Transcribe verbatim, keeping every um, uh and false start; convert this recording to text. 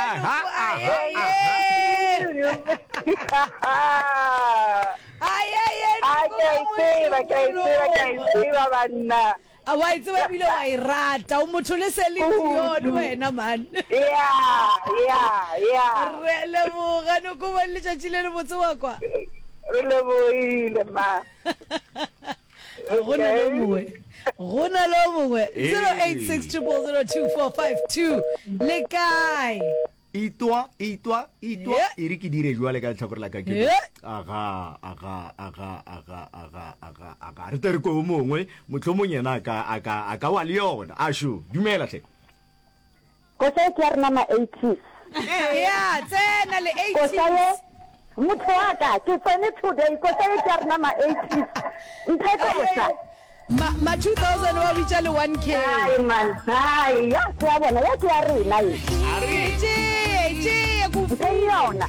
Aha, Noko, aha, aha. Ai, ai, ai, A ke a e tseba, ke a e tseba, ke a e tseba banna. A wa e tseba ebile wa e rata. O motho le Celine Dion wena man. Yeah, yeah, yeah. Re a leboga Noko ba letšatši le lebotse wa kwa. Re lebohile ma. Go na le o mongwe. Go na le o mongwe. zero eight six triple zero two four five two. Le kae? Itwa, itwa, itwa. Yeah. E re ke dire jwale ka lehlakore la ka ke. Yeah. Aga, aga, aga, aga, aga, aga, aga. Re tle re kwe o mongwe, mohlomong yena a ka, a ka, a ka wa le yona. Ašo, dumela hle. Koša ye ke ya rena ma eighties. Ya, tsena le Koša ye, eighties. motho wa ka, ke tsene today, koša ye ke ya rena ma eighties. Mphe koša. Ma, ma two thousand ba bitša le one K. Hai man, hai, ya ke ya bona, ya ke ya rena ye. E tšee, e tšee, ke o Mpheng yona.